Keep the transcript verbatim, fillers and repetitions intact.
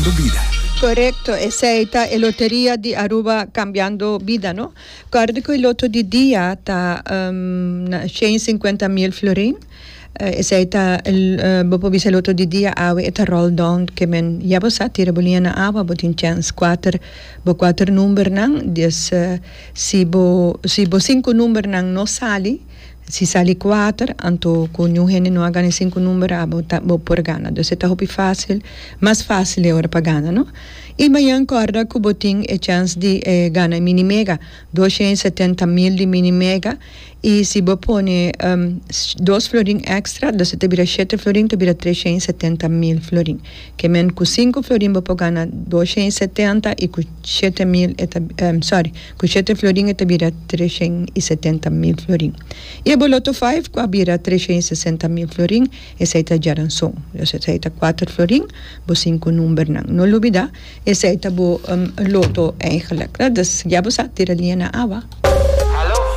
Cambiando Bida. Correcto, esey ta e loteria di Aruba Cambiando Bida, no? Corda cu e loto di dia ta um, shen y sinkuenta mil florin. Uh, esey ta uh, bo por bisa loto di dia awe e ta roll down, kiermen ya bo sa, tira bo liña na awa, bo tin chance kuater, bo kuater numbernan. Dus uh, si bo si bo sinku numbernan no sali, si sali kuater, anto cu ningun hende no a gana sinku number, abo ta bo por gana. Dus ta hopi facil, mas facil e ora pa gana, no? Y mañan corda cu bo tin e chance di eh, gana mini mega, doshen y setenta mil di mini mega. Y si bo pone um, dos florin extra, dus ta bira shete florin, ta bira treshen y setenta mil florin. Kiermen cu sinku florin bo por gana doshen y setenta y cu shete mil, e ta, um, sorry, cu shete florin ta bira treshen y setenta mil florin. Y e loto sinku cu bira treshen y sesenta mil florin, esey ta diaranson. Dus esey ta kuater florin, bo sinku numbernan. No lubida, esey ta bo um, loto eigenlijk. Dus ya bo sa, tira liña na awa.